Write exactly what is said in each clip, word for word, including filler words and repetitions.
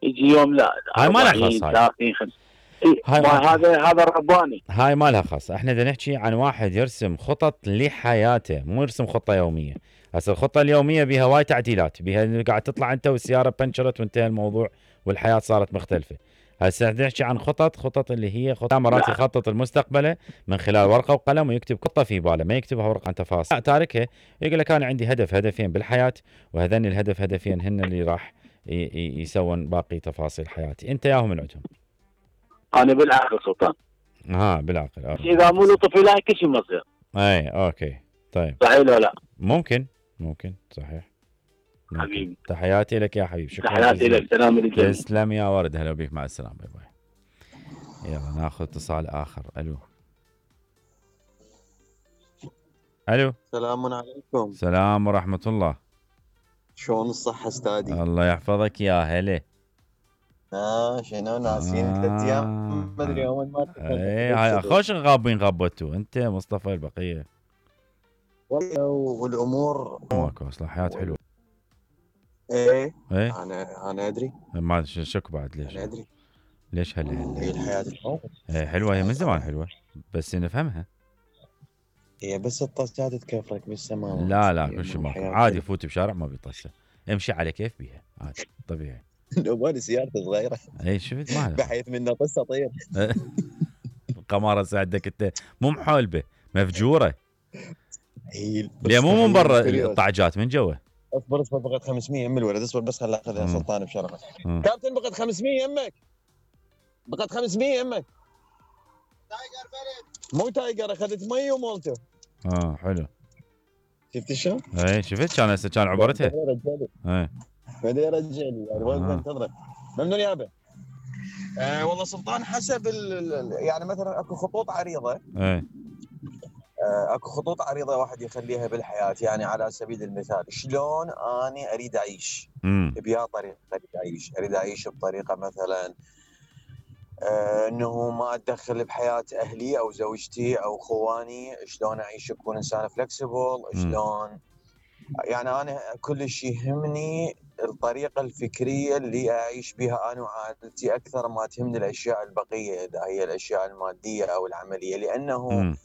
يجي يوم لا هاي ما لها أربعين خاص هاي. ثلاثين خمسين. إيه هاي ما ما- هذا هذا الرباني. هاي ما لها خاص. احنا بدنا نحكي عن واحد يرسم خطط لحياته، مو يرسم خطه يوميه. هسه الخطه اليوميه بها وايد تعديلات، بها قاعد تطلع انت والسياره بنشرت وانتهى الموضوع والحياه صارت مختلفه. هسه بدنا نحكي عن خطط، خطط اللي هي خطط مرات يخطط المستقبله من خلال ورقه وقلم ويكتب خطه في باله، ما يكتبها ورقه عن تفاصيل تاركها. يقول لك انا عندي هدف هدفين بالحياه، وهذين الهدف هدفين هن اللي راح يسوون باقي تفاصيل حياتي. انت ياهم من عندهم؟ انا بالعقل سلطان. اه بالعقل. آه. اذا مو لطفي لا كل شيء مصير. اي اوكي طيب. صحيح ولا لا؟ ممكن ممكن صحيح. ممكن. حبيبي تحياتي لك يا حبيبي. شكرا. تحياتي لك. سلام للجميع. تسلم يا ورد. هلا بك. مع السلامه. باي باي. يلا ناخذ اتصال اخر. الو الو. السلام عليكم. السلام ورحمه الله. شلون الصحة استاذي؟ الله يحفظك يا هلا. اه شنو ناسين آه. ثلاث ايام ما ادري يوم ما اي هاي خوش غابين غبتوا انت مصطفى البقيه. والله والامور ماكو اصلا حياه حلوه. ايه ايه انا انا ادري. ما شك بعد ليش؟ انا ادري ليش هلا هلا هي الحياة الحلوة. هي حلوه، هي من زمان حلوه بس نفهمها. هي بس الطاسات تكفرك بالسماوات. لا لا كل شيء ماكو عادي. فوت بشارع ما بيطسه، امشي على كيف بيها عادي طبيعي. لو مالي سيارتي صغيرة. اي شفت ما بحيث منه طسه طير. القمارة ساعدك انت مو محولبه مفجوره. هي ليه مو من برا الطعجات من جوا. اصبر اصبر بقت خمسمية يم الولد. اصبر بس خل اخذها سلطان بشرفك. كابتن بقت خمسمية يمك. بقت خمسمية يمك. تايجر برد. مو تايجر اخذت مي ومولته. اه حلو. شفت شلون؟ اي شفت كان هسه كان عبرتها. اي بدا يرجع لي يعني وين بنتظره. ممنون يابا. آه والله سلطان حسب يعني مثلا اكو خطوط عريضه. اي آه اكو خطوط عريضه واحد يخليها بالحياه. يعني على سبيل المثال شلون اني اريد اعيش. بيا طريقه اريد اعيش. اريد اعيش بطريقه مثلا آه انه ما اتدخل بحياه اهلي او زوجتي او خواني. شلون اعيش اكون انسان فلكسبل. شلون يعني انا كل شيء يهمني الطريقه الفكريه اللي اعيش بها انا وعائلتي اكثر ما تهمني الاشياء البقيه اذا هي الاشياء الماديه او العمليه. لانه م.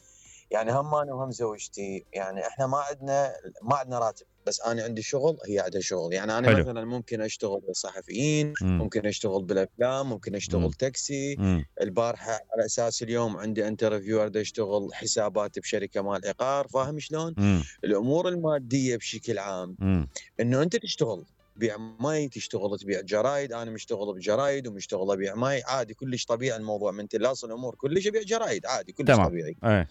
يعني هم انا وهم زوجتي يعني احنا ما عندنا ما عندنا راتب. بس انا عندي شغل هي عندها شغل. يعني انا حلو. مثلا ممكن اشتغل صحفيين. م. ممكن اشتغل بالافلام. ممكن اشتغل م. تاكسي. م. البارحه على اساس اليوم عندي انترفيو اريد اشتغل حسابات بشركه مال عقار. فاهم شلون؟ م. الامور الماديه بشكل عام م. انه انت تشتغل بيع ماي تشتغل تبيع جرايد. انا مشتغل بجرايد ومشتغل ابيع ماي عادي كلش طبيعي. الموضوع من تلاص الامور كلش ابيع جرايد عادي كلش طبيعي. أي.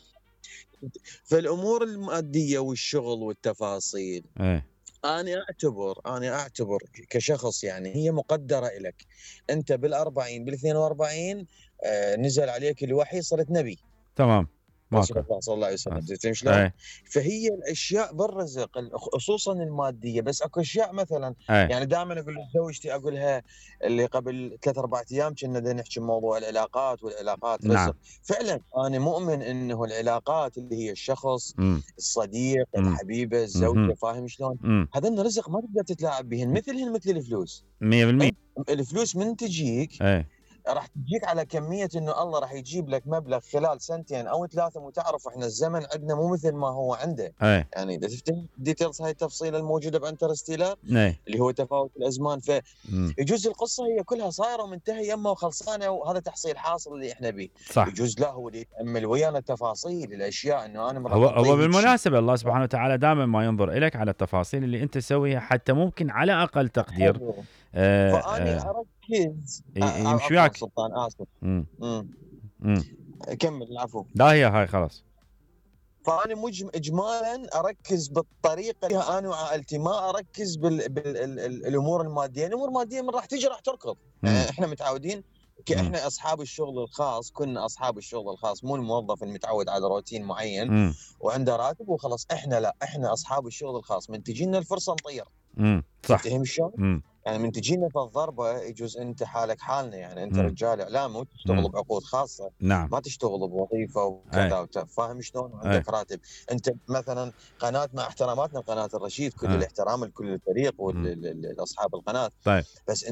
فالامور الماديه والشغل والتفاصيل أي. انا اعتبر انا اعتبر كشخص يعني هي مقدره لك. انت بالأربعين بالاثنين وأربعين آه نزل عليك الوحي صرت نبي. تمام. رسول الله صلى الله عليه وسلم. زين شلون؟ فهي الاشياء بالرزق خصوصا الماديه. بس اكو اشياء مثلا أي. يعني دائما اقول لزوجتي اقولها اللي قبل ثلاث اربع ايام كنا نحكي بموضوع العلاقات والعلاقات رزق. نعم. فعلا انا مؤمن انه العلاقات اللي هي الشخص م. الصديق م. الحبيبه الزوجه. فاهم شلون؟ هذا رزق ما تقدر تتلاعب بهن مثلهن مثل الفلوس. مية بالمية. الفلوس من تجيك أي. راح تجيك على كمية انه الله راح يجيب لك مبلغ خلال سنتين او ثلاثة. وتعرف احنا الزمن عندنا مو مثل ما هو عنده. أي. يعني اذا تفتح ديتيلز هاي التفصيله الموجوده بانترستيلر اللي هو تفاوت الازمان. فيجوز القصه هي كلها صايره ومنتهيه يمه وخلصانه وهذا تحصيل حاصل اللي احنا به. يجوز لا هو اللي يتامل ويانا التفاصيل الاشياء انه انا هو, هو بالمناسبه الله سبحانه وتعالى دائما ما ينظر اليك على التفاصيل اللي انت تسويها حتى ممكن على اقل تقدير. آه فاني آه اركز يمشي وياك. سلطان اسف. امم كمل العفو. لا هي هاي خلاص. فانا مجم اجمالا اركز بالطريقه اللي انا وعائلتي. ما اركز بالامور الماديه. الامور الماديه من راح تيجي راح تركض. يعني احنا متعودين احنا اصحاب الشغل الخاص. كنا اصحاب الشغل الخاص مو الموظف المتعود على روتين معين م. وعنده راتب وخلاص. احنا لا احنا اصحاب الشغل الخاص. من تجينا الفرصه نطير. امم صح. تفهم شلون؟ يعني من تجينا في الضربه يجوز انت حالك حالنا. يعني انت م. رجال اعلام وتشتغل بعقود خاصه. نعم. ما تشتغل بوظيفه وكذا. فاهم شلون؟ عندك راتب. انت مثلا قناه مع احتراماتنا لقناه الرشيد كل أي. الاحترام لكل الفريق والاصحاب القناه. طيب. بس انت